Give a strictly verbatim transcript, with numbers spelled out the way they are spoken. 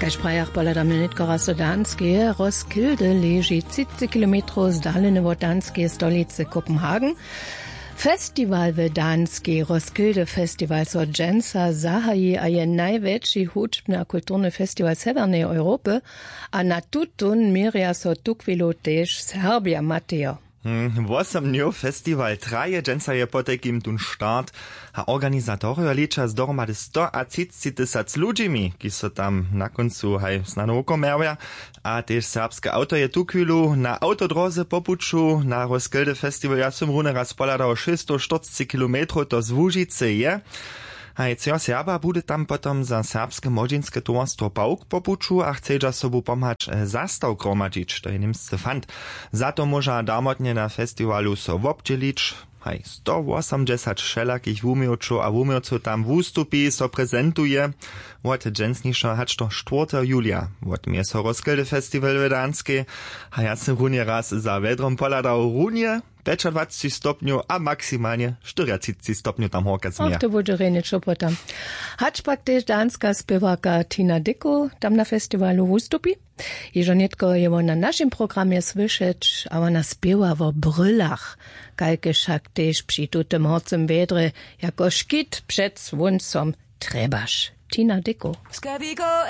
Kaž prajach pohladamy nětko raz do danskeje. Roskilde leži třiceći kilometrow zdalene wot danskeje stolicy kopenhagen. Festiwal w danskej, roskilde festiwal so dźensa zahaji a je najwjetši hudźbny a kulturny festiwal sewjerneje europy. A na tutón měrja so tuchwilu tež serbja matejo. Wosomnjow festiwal traje dźensa je potajkim tón start. A organizatorjo liča z dohromady stoatřiceći tysac ludźimi kiž so tam na kóncu haj snano wukomerja. A tež serbske awto je tuchwilu na awtodróze po puću na roskilde festiwal ja sym runje raz pohladał šěsćstoštyrceći kilometrow to z łužicy je. Haj třeho serba budy tam potom za serbske młodźinske towarstwo pawk po puću a chcedźa sobu pomhać zastawk hromadźić to je němscy fant. Za to móža darmotnje na festiwalu so wobdźělić. Haj stowosomdźesać wšelakich wuměłčow a wuměłcow tam wustupi so prezentuje. Wot dźensnišeho hač do štwórteho julija wotměje so roskilde festiwal w danskej. A ja sym runje raz za wjedrom pohladał runje pjećadwaceći stopnjow a maksimalnje štyriatřiceći stopnjow tam horka změja. To budźe rjenje čopota. Hač pak tež danska spěwarka tina dicko tam na festiwalu wustupi. Hižo nětko je wón na našim programje słyšeć a wona spěwa wo brylach, kajke wšak tež při tutym horcym wjedrje jako škit před słóncom trjebaš. Tina dicko.